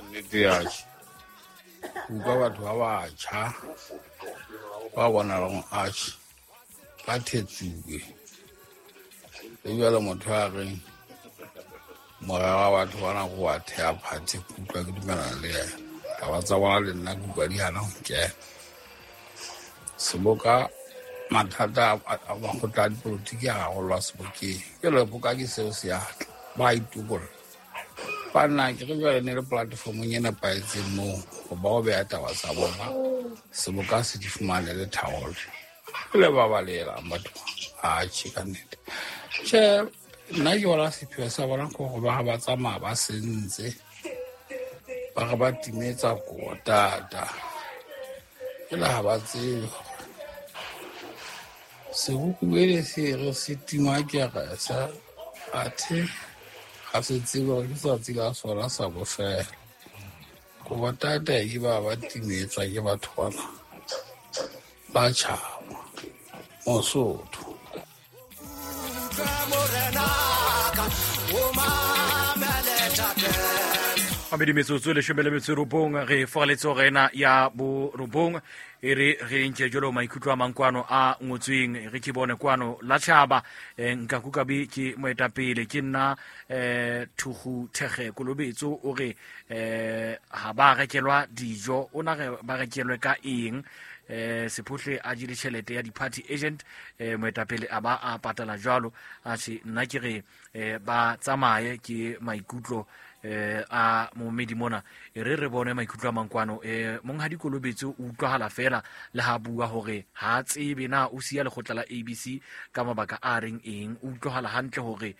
Nnete atjhe, utlwa batho ba batjha ba bonalang atjhe ba thetsuwe. Le jwale motho a reng morero wa batho bana ko wa theha party, ke utlwa ke dumelana le yena. Taba tsa bona le nna ke utlwa di hana ho kena. Seboka mathata a makgotla a dipolotiki a rarollwa sebokeng. Jwale boka ke seo se atla, ba itokolla. Banna ke re jwale ne le platformong e nepahetseng moo ho ba o beha taba tsa bona, seboka se di fumane le tharollo. Le ba balehelang batho atjhe ka nnete. Tjhe, nna ke bona sepheo sa bona ke hore ba ba tsamaya ba sentse, ba re ba timetsa kotata. Jwale ha ba tsebe hore sebokubele se re se tingwa kerese, athe ga se tsebe gore ke tsatsi la sona sa bofelo. Kobotata ke ba ba timetswa ke batho bana ba tjhaba Mosotho. Mabedi metsotso 19 re fogaletse go ena ya borobong e re re ntše jalo maikutlo a mang kwano a ngotsweng re ke bone kwano la tšhaba. Nka kukabe ke moetapele ke nna thugu thege kolobetso o re ha ba rekelwa dijo o na re ba rekelwe ka eng sephohle a jele tšhelete ya di-party agent moetapele a ba a patala jalo a se nna ke re ba tsamaye ke maikutlo a momedi mona e re re bone maikutlo a mankwano monghadi Kolobetso o utlwahala fela le ha bua hore ha tsebe na o siya lekgotla la ABC ka mabaka a reng eng. O utlwahala hantle hore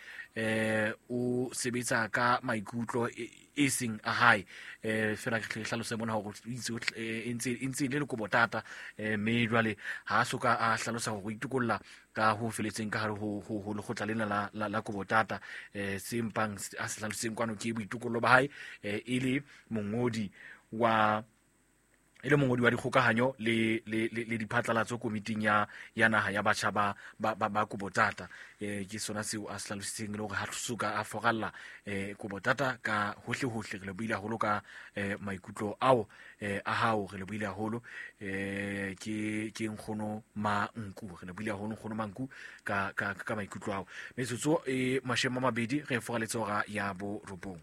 o sebetsa ka maikutlo e seng a hae fela ke hlalose mona hore o itse e ntse le lekobotata mme jwale ha a soka a hlalosa hore o itokolla ka ho feletseng ka hare ho lekgotla lena la kobotata. Se mpang a se hlalositseng kwano ke boitokollo ba hae e le mongodi wa e le mongodi wa dikgokahanyo le diphatlalatso komiting ya naha ya batjha ba kobotata. Ke sona seo a se hlalositseng le hore ha soka a foralla kobotata ka hohle hohle. Re le buile haholo ka maikutlo ao a hao, re le buile haholo ke nkgono Manku, re le buile haholo nkgono Manku ka maikutlo ao. Metsotso e 20 re foraletse hora ya borobong.